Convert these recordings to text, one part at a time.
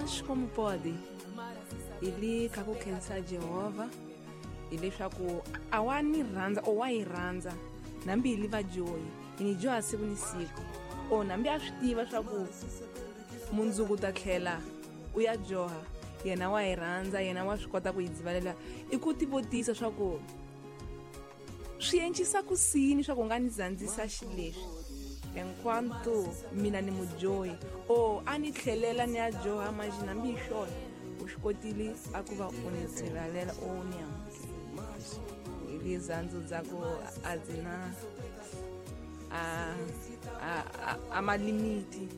Mas como pode? Ili ka ku khensa Jehovha hileswaku a wa ni rhandza o wa yi rhandza nambi hi li vadyohi hi ni dyoha siku ni siku o nambi a swi tiva swa ku mundzuku ta tlhela u ya dyoha yena wa yi rhandza yena wa swi kota ku yi dzivalela i ku tivutisa swa ku swi encisa ku sini swa ku nga ni zandzisa xileswi enquanto mina ni mudyohi o a ni tlhelela ni ya dyoha manjhe nambi hi swona u swi kotile a ku va u ni dzivalela o ni amukela hi lizandzu dza ku a dzi na a malimiti.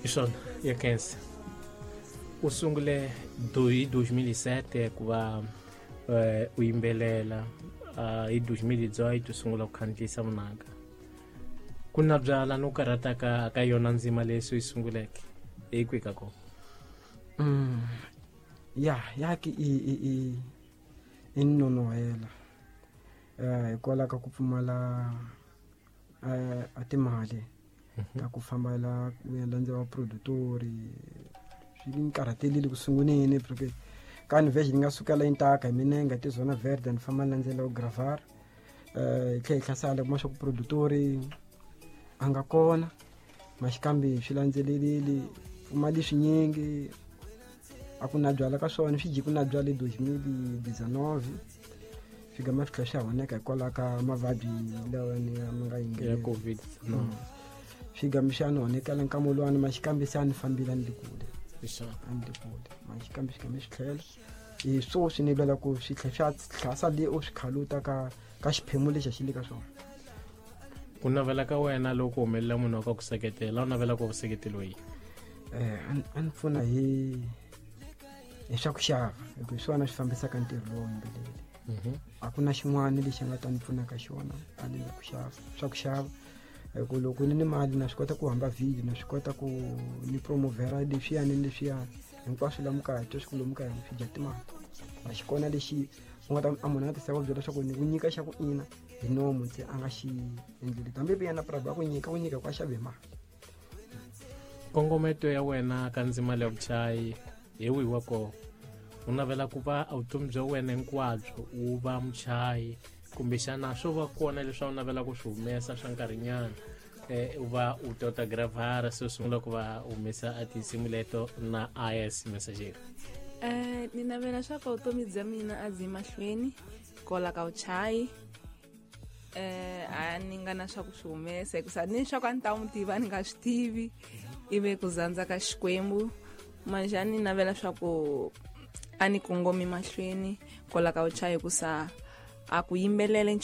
Hi swona ya khensa u sungule hi 2007 ku va u yimbelela hi 2018 u sungula ku khandziyisa vunanga ku na byala no karhataka ka yona ndzima leyi se yi sunguleke hi kwihi ka kona? Ya ya ki i i i i nonohela hikwalaho ka ku pfumala a timali ta ku fambela ku ya landza va produtori swi ni karhatelile ku sunguleni porque ka ni version ni nga sukela intaka hi minenga ti zona verde ni famba ni landzela u gravar hi tlhela hi hlasala kuma swa ku produtori a nga kona maxikambi swi landzelelile pfumali swinyingi a ku na byala ka swona swi ji ku na byala 2019 swi gama swi tlhela swi honeka hikwalaho ka mavabyi lawa ni ma nga ya yingelela COVID. Swi gama swi ya ni honekela nkama luwani maxikambi se a ni fambile a ni le kule. Hi swona. A ni le kule maxikambi swi game swi tlhela hi swo swi ni lwela ku swi tlhela swi tlhasa le u swi khaluta ka xiphemu lexi a xi le ka swona. Ku navela ka wena loko humelela munhu wa ka ku seketela u navela ku seketeliwa yini? A ni pfuna hi swa ku xava hi ku hi swona swi fambisaka ntirho lowo yimbeleli. A ku na xin'wana lexi nga ta ni pfuna ka xona a ni ku xava swa ku xava hi ku loko ni ni mali na swi kota ku hamba video na swi kota ku ni promovera leswiyani ni leswiyani hinkwaswo la mukaya twa swi ku lomu kaya swi dya timali a xi kona lexi u nga ta a munhu a nga tisa ku byela leswaku ni ku nyika xa ku ina hi nomu ntse a nga xi endleli hambi yena private a ku nyika ku a xave mali. Kongometo ya wena ka ndzima leya vuchayi hi wihi wa kona? U navela ku va vutomi bya wena hinkwabyo u va muchayi kumbexana swo va kona leswi a wu navela ku swi humesa swa nkarhinyana u va u tota gravara se u sungula ku va humesa a tinsimu leto na is messageri? Ni navela swa ku vutomi bya mina a byi mahlweni kola ka vuchayi a ni nga na swa ku swi humesa hikusa ni swa ku a ni ta n'wi tiva ni nga swi tivi ivi ku zandza ka Xikwembu manje a ni navela swa ku a ni kongomi mahlweni kola ka vuchayi hikusa a ku yimbelele.